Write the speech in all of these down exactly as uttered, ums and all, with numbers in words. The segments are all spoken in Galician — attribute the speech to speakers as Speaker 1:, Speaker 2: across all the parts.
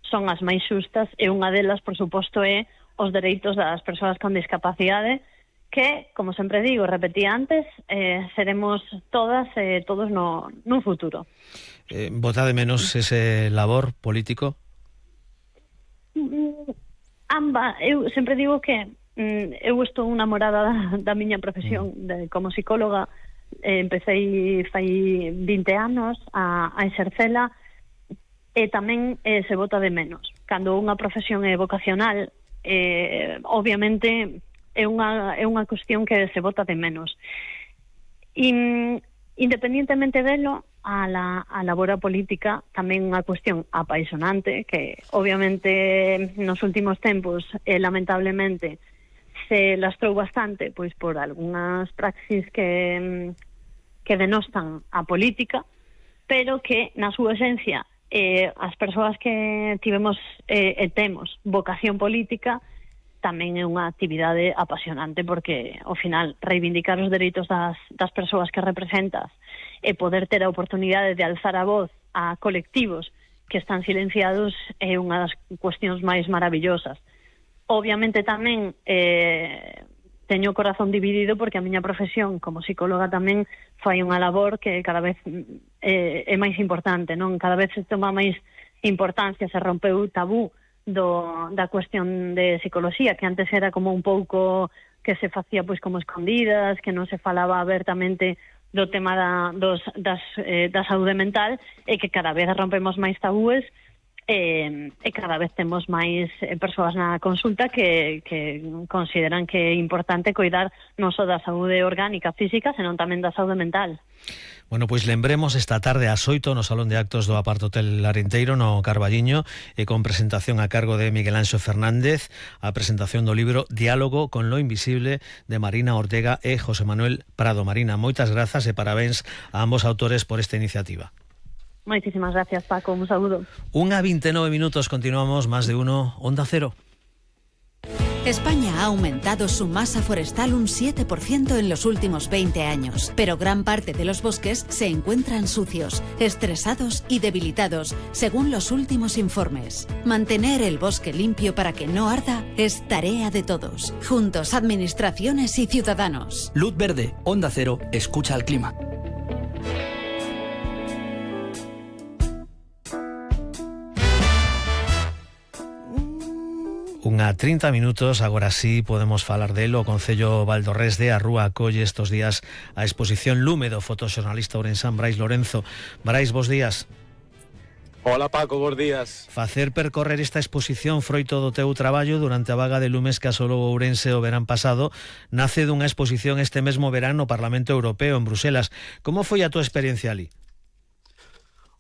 Speaker 1: son as máis xustas, e unha delas, por suposto, é os dereitos das persoas con discapacidade, que, como sempre digo, repetí antes, eh, seremos todas e eh, todos no, no futuro.
Speaker 2: Eh, vota de menos ese labor político?
Speaker 1: Mm, amba, eu sempre digo que mm, eu estou enamorada da, da miña profesión mm. de, como psicóloga. eh, empecé fai vinte anos a, a exercela, e tamén eh, se vota de menos. Cando unha profesión é vocacional, eh, obviamente é unha, é unha cuestión que se vota de menos. E, independientemente delo, a la a labora política tamén unha cuestión apaixonante, que obviamente nos últimos tempos, eh, lamentablemente, se lastrou bastante pois por algunhas praxis que, que denostan a política, pero que na súa esencia eh, as persoas que tivemos eh, e temos vocación política tamén é unha actividade apasionante, porque ao final reivindicar os dereitos das, das persoas que representas e poder ter a oportunidade de alzar a voz a colectivos que están silenciados é unha das cuestións máis maravillosas. Obviamente tamén eh, teño o corazón dividido, porque a miña profesión como psicóloga tamén fai unha labor que cada vez eh, é máis importante, non? Cada vez se toma máis importancia, se rompeu o tabú do, da cuestión de psicología, que antes era como un pouco que se facía pois como escondidas, que non se falaba abertamente do tema da, dos, das, eh, da saúde mental, e que cada vez rompemos máis tabúes, e, e cada vez temos máis eh, persoas na consulta que, que consideran que é importante coidar non só da saúde orgánica, física, senón tamén da saúde mental.
Speaker 2: Bueno, pois lembremos esta tarde ás oito no Salón de Actos do Apart Hotel Arenteiro, no Carballiño, e con presentación a cargo de Miguel Anxo Fernández, a presentación do libro Diálogo con lo invisible, de Marina Ortega e José Manuel Prado. Marina, moitas grazas e parabéns a ambos autores por esta iniciativa.
Speaker 1: Moitísimas gracias, Paco, un saúdo.
Speaker 2: Unha vinte e nove minutos, continuamos, Más de Uno, Onda Cero.
Speaker 3: España ha aumentado su masa forestal un siete por ciento en los últimos veinte años, pero gran parte de los bosques se encuentran sucios, estresados y debilitados, según los últimos informes. Mantener el bosque limpio para que no arda es tarea de todos. Juntos, administraciones y ciudadanos.
Speaker 4: Luz verde, Onda Cero, escucha al clima.
Speaker 2: Unha trinta minutos, agora sí podemos falar delo. O Concello Valdorrés de Arrúa acolle estos días a exposición Lume do fotoxornalista ourensán Brais Lorenzo. Brais, bos días.
Speaker 5: Hola Paco, bos días.
Speaker 2: Facer percorrer esta exposición froito do teu traballo durante a vaga de lumes que asolou Ourense o verán pasado nace dunha exposición este mesmo verán no Parlamento Europeo en Bruselas. Como foi a tua experiencia ali?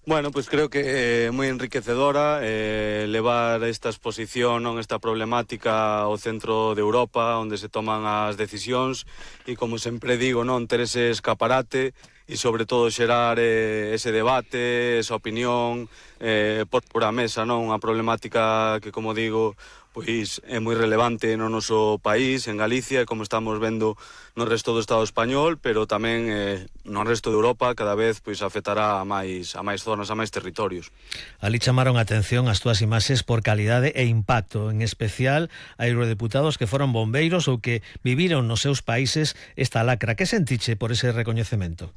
Speaker 5: Bueno, pues creo que é eh, moi enriquecedora eh, levar esta exposición, non, esta problemática ao centro de Europa, onde se toman as decisións, e como sempre digo, non, ter ese escaparate e sobre todo xerar eh, ese debate, esa opinión eh, por, por a mesa, non, unha problemática que, como digo, pois é moi relevante no noso país, en Galicia, e como estamos vendo no resto do Estado español, pero tamén eh, no resto de Europa cada vez pois afectará a máis a máis zonas, a máis territorios.
Speaker 2: Ali chamaron a atención as túas imaxes por calidade e impacto, en especial a eurodeputados que foron bombeiros ou que viviron nos seus países esta lacra. Que sentiche por ese recoñecemento?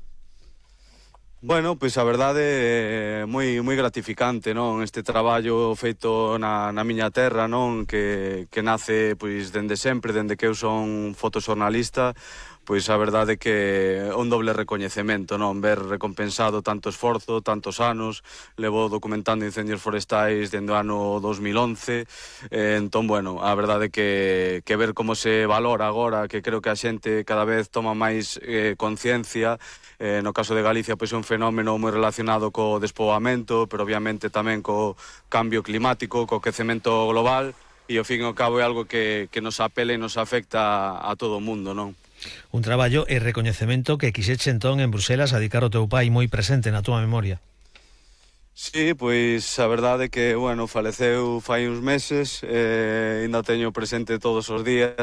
Speaker 5: Bueno, pois a verdade é moi moi gratificante, non? Este traballo feito na, na miña terra, non? Que, que nace pois dende sempre, dende que eu son fotoxornalista, pois a verdade que é un doble recoñecemento, non? Ver recompensado tanto esforzo, tantos anos, levo documentando incendios forestais dende o ano dos mil once, eh, entón, bueno, a verdade que, que ver como se valora agora, que creo que a xente cada vez toma máis eh, conciencia. Eh, no caso de Galicia, pois é un fenómeno moi relacionado co despoboamento, pero obviamente tamén co cambio climático, co quecemento global, e ao fin e ao cabo é algo que, que nos apela e nos afecta a, a todo o mundo, non?
Speaker 2: Un traballo e recoñecemento que quixeche entón en Bruselas a dedicar ao teu pai moi presente na túa memoria.
Speaker 5: Sí, pois a verdade é que, bueno, faleceu fai uns meses, eh, ainda teño presente todos os días,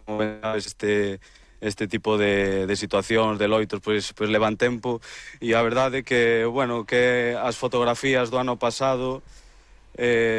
Speaker 5: como este... este tipo de, de situacións, de loitos, pois, pois levan tempo, e a verdade é que, bueno, que as fotografías do ano pasado eh,